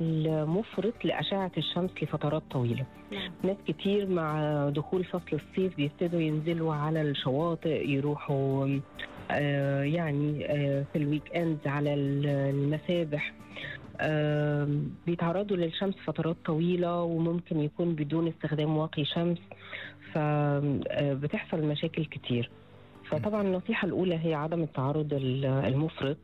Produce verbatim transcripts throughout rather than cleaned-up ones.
المفرط لأشعة الشمس لفترات طويلة. نعم. ناس كتير مع دخول فصل الصيف بيبتدوا ينزلوا على الشواطئ، يروحوا آه يعني آه في الويك اند على المسابح، آه بيتعرضوا للشمس فترات طويلة وممكن يكون بدون استخدام واقي شمس، فبتحصل مشاكل كتير. فطبعا النصيحة الأولى هي عدم التعرض المفرط.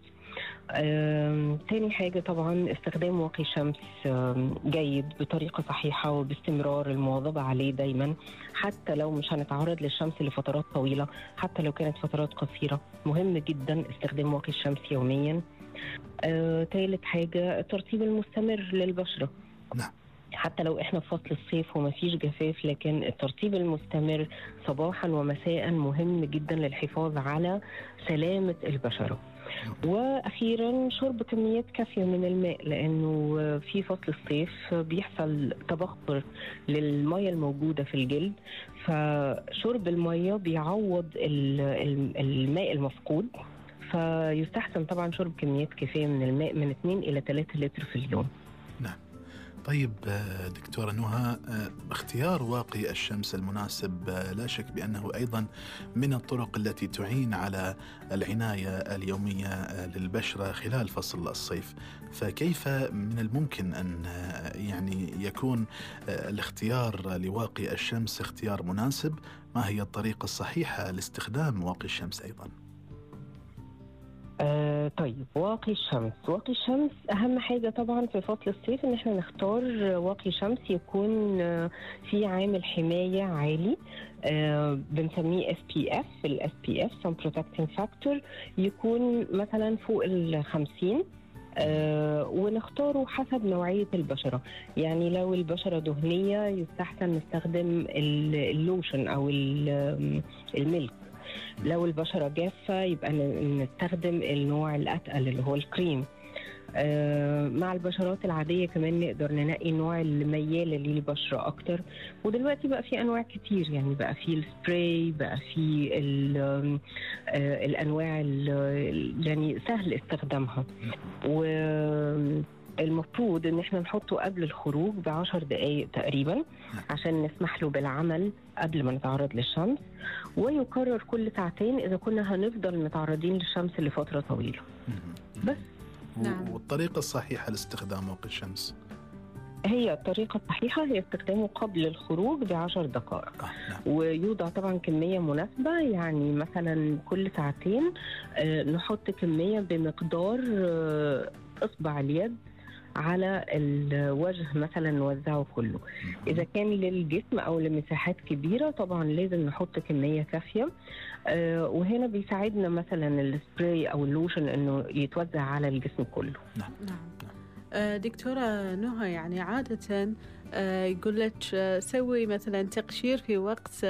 آه، تاني حاجة طبعا استخدام واقي شمس آه، جيد بطريقة صحيحة وباستمرار، المواظبة عليه دايما حتى لو مش هنتعرض للشمس لفترات طويلة، حتى لو كانت فترات قصيرة مهم جدا استخدام واقي الشمس يوميا. آه، تالت حاجة الترطيب المستمر للبشرة. نعم. حتى لو احنا في فصل الصيف ومفيش جفاف، لكن الترطيب المستمر صباحا ومساء مهم جدا للحفاظ على سلامة البشرة. واخيرا شرب كميات كافيه من الماء، لانه في فصل الصيف بيحصل تبخر للميه الموجوده في الجلد، فشرب الميه بيعوض الماء المفقود، فيستحسن طبعا شرب كميات كافيه من الماء من اثنين إلى ثلاثة لتر في اليوم. نعم. طيب دكتورة نهى، اختيار واقي الشمس المناسب لا شك بأنه أيضا من الطرق التي تعين على العناية اليومية للبشرة خلال فصل الصيف، فكيف من الممكن أن يعني يكون الاختيار لواقي الشمس اختيار مناسب؟ ما هي الطريقة الصحيحة لاستخدام واقي الشمس أيضا؟ آه طيب، واقي الشمس واقي الشمس أهم حاجة طبعا في فصل الصيف إن احنا نختار واقي شمس يكون آه في عامل حماية عالي، آه بنسميه إس بي إف. ال إس بي إف Sun Protecting Factor يكون مثلا فوق الخمسين، آه ونختاره حسب نوعية البشرة. يعني لو البشرة دهنية يستحسن نستخدم اللوشن أو الميلك. لو البشرة جافة يبقى نستخدم النوع الأتقل اللي هو الكريم. آه مع البشرات العادية كمان نقدر ننقي النوع اللي ميالة للبشرة أكتر. ودلوقتي بقى في أنواع كتير، يعني بقى في السبراي، بقى في آه الأنواع يعني سهل استخدامها. والمفروض ان احنا نحطه قبل الخروج بعشر دقايق تقريبا عشان نسمح له بالعمل قبل ما نتعرض للشمس، ويكرر كل ساعتين اذا كنا هنفضل متعرضين للشمس لفترة طويلة. بس نعم. والطريقة الصحيحة لاستخدام واقي الشمس هي الطريقة الصحيحة هي استخدامه قبل الخروج بعشر دقائق. آه نعم. ويوضع طبعا كمية مناسبة، يعني مثلا كل ساعتين آه نحط كمية بمقدار آه إصبع اليد على الوجه مثلا نوزعه كله. إذا كان للجسم أو لمساحات كبيرة طبعا لازم نحط كمية كافية. آه وهنا بيساعدنا مثلا السبراي أو اللوشن أنه يتوزع على الجسم كله. نعم. نعم. دكتورة نهى، يعني عادة يقول لك سوي مثلا تقشير في وقت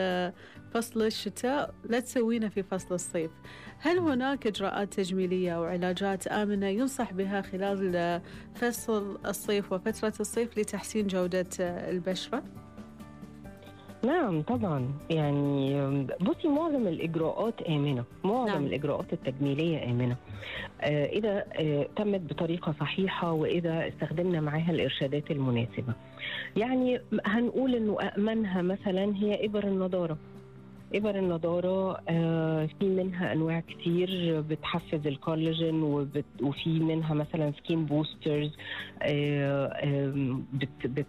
فصل الشتاء، لا تسوينه في فصل الصيف. هل هناك إجراءات تجميلية أو علاجات آمنة ينصح بها خلال فصل الصيف وفترة الصيف لتحسين جودة البشرة؟ نعم طبعا، يعني بصي معظم الإجراءات آمنة، معظم نعم. الإجراءات التجميلية آمنة آه إذا آه تمت بطريقة صحيحة وإذا استخدمنا معها الإرشادات المناسبة. يعني هنقول إنه أأمنها مثلا هي إبر النضارة. إبر النضارة آه في منها أنواع كتير بتحفز الكولاجين، وفي منها مثلا سكين بوسترز آه آه بت, بت